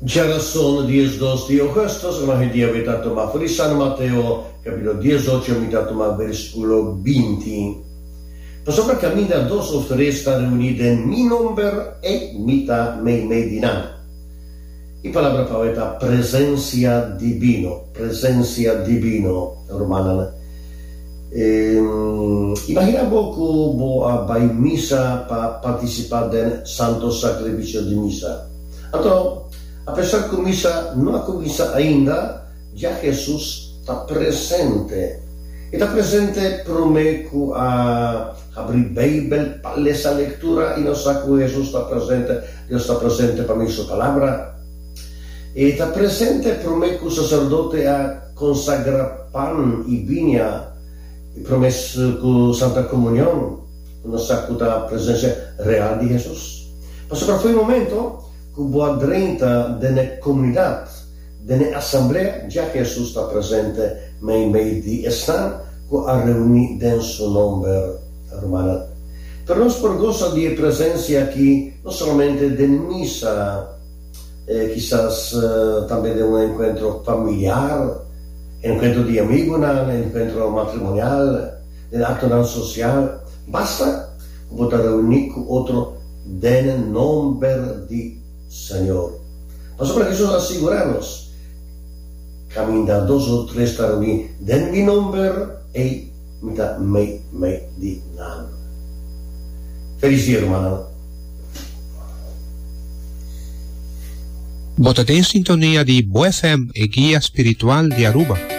Djarason 12 di ougùstùs, Evangelio di awe ta tuma for di San Mateo, kapítulo 18, mi ta tuma versíkulo 20. Pasobra kaminda dos òf tres ta reuní den mi nòmber, ei mi ta meimei di nan. E palabra pa awe ta presensia dibino, presensia dibino, rumannan. Imaginá bo ku bo a bai misa pa partisipá den Santo Sakrifisio di Misa. Anto, apesar ku misa no a kuminsá ainda, ya Hesus ta presente. E ta presente promé ku a habri Beibel pa lesa lektura i nos sa ku Hesus ta presente, Dios ta presente pa mi Su Palabra. E ta presente promé ku saserdote a konsagrá pan i biña i promé ku Santa Komunion, ku nos sa ku ta presensia real di Hesus. Pasobra fo'i momento ku bo a drenta den e komunidat, den e asamblea, dja Hesus ta presente meimei di esnan ku a reuní den su nòmber. Rumannan, pero nos por gosa di e presensia aki no solamente den misa, kisas tambe den un enkuentro familiar, enkuentro di amigunan, enkuentro matrimonial, den aktonan sosial. Basta ku bo ta reuní ku otro den nomber di Señor. Pasobra Hesus a sigurá nos, Kaminda dos o tres ta reuní den mi nomber, ei mi ta meimei di nan. Felis dia, rumannan. Bo ta den sintonia di Bo FM, e guia spiritual di Aruba.